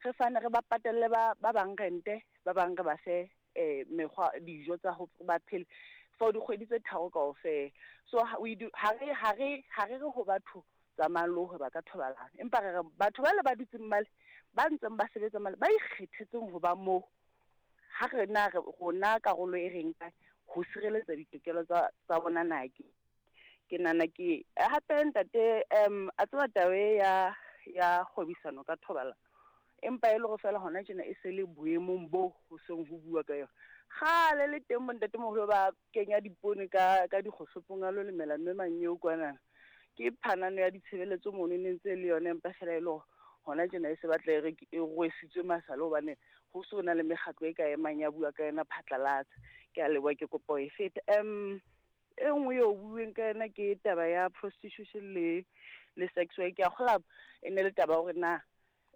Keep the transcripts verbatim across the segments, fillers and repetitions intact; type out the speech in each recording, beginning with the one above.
Re fane re ba patelle ba ba bang rente, ba bang re ba fe eh mekgwa dijo tsa ho ba phele for dikgwedi tse tharo kaofela. So ha we do ha re ha re ha re re ho batho tsamayang le ho hweba ka thobalano, empa re re batho bale ba dutseng male, ba ntseng ba sebetsa male, ba ikgethetseng ho ba moo. Ha re na re rona karolo e re nkang ho sireletsa ditokelo tsa tsa bona na ke ke nahana ke hape ntate, um a tseba taba e ya ya kgwebisano ka thobalano, empa e le hore fela hona tjena e se le boemong bo ho seng ho bua ka yona. Kgale le teng bo ntatemoholo ba kenya dipoone ka ka dikgohlopong a lo lemela mme manyeo kwana. Ke phanano ya ditshebeletso mono e ne ntse le yona, empa fela e le hore hona tjena e se batla e re e rwesitswe masale hobane ho so na le mekgatlo e ka emang ya bua ka yona phatlalatsa. Ke a leboha, ke kopa ho e feta. Um e nngwe eo bueng ka yona ke taba ya prostitution le le sex work. Ke a kgolwa e ne le taba ya hore na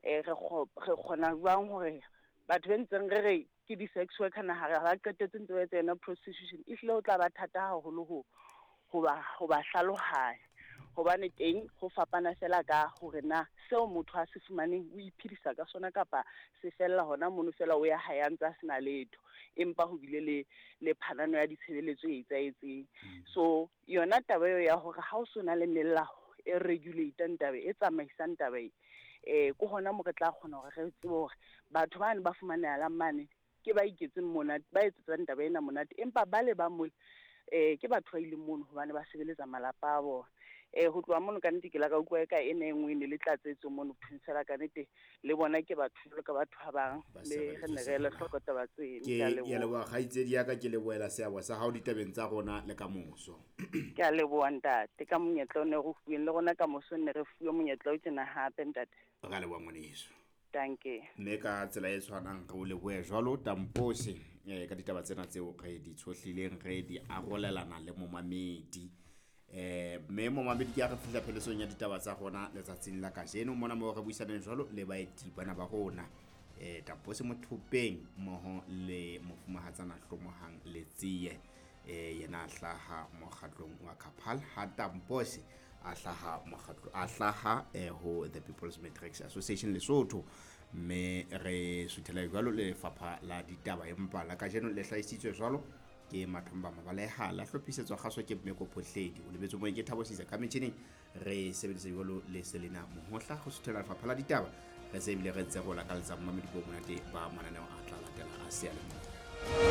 eh re re kgona jwang hore batho ba ntseng re re ke di-sex worker na ha ba qetetse ntse ba etsa yona prostitution, ehlile ho tla ba thata haholo ho ho ba ho ba hlalohanya, hobane teng ho fapana fela ka hore na seo motho a se fumaneng o iphedisa ka sona kapa se fella hona mono fela o ya hae a ntse a sena letho, empa ho bile le le phanano ya ditshebeletso e etsahetseng. So yona taba eo ya hore ha o so na le melao e regulate-ang taba e tsamaisang taba e, eh ke hona mo re tla kgona hore re tsebe hore batho bane ba fumanehalang mane ke ba iketseng monate, ba etsetsang taba ena monate, empa ba le ba mole eh ke batho ba ileng mono hobane ba sebeletsa malapa a bona. Eh ho tloha mono ka nnete ke la ka utlwa eka ena e nngwe e ne le tlatsetso mono phensela ka nnete le bona ke batho jwalo ka batho ba bang, mme re ne re ele hloko taba tseno. Ke Ke a ke a leboha. leboha kgaitsedi ya ka, ke lebohela seabo sa hao ditabeng tsa rona le kamoso. Ke a leboha ntate ka monyetla o ne re fuweng, le rona kamoso ne re fuwe monyetla o tjena hape ntate. Re a leboha ngwaneso. Dankie. Mme ka tsela e tshwanang re o lebohe jwalo Tampose eh ka ditaba tsena tseo re di tshohlileng re di arolelana le momamedi. Eh mme momamedi ke a re fihla pheletsong ya ditaba tsa rona letsatsing la kajeno mona moo re buisaneng jwalo le baeti bana ba rona, eh Tampose Mothopeng mmoho le mofumahatsana Hlomohang Letsie, eh yena a hlaha mokgatlong wa Kapal, ha Tampose a hlaha mokgatlo a hlaha eh, ho the People's Matrix Association Lesotho. Mme re suthela jwalo le lefapha la ditaba, empa la kajeno le hlahisitswe jwalo ke Mathomba Mabaleha, la hlophisetswa kgaso ke Mmeko Phohledi, o lebetse moeng ke Thabo Sisa ka metjhining, re sebedisa jwalo le Selina Mohohla ho suthela lefapha la ditaba. Re se ebile re ntse re o lakaletsa momamedi bo monate ba mananeo a tla latela a seyalemoya.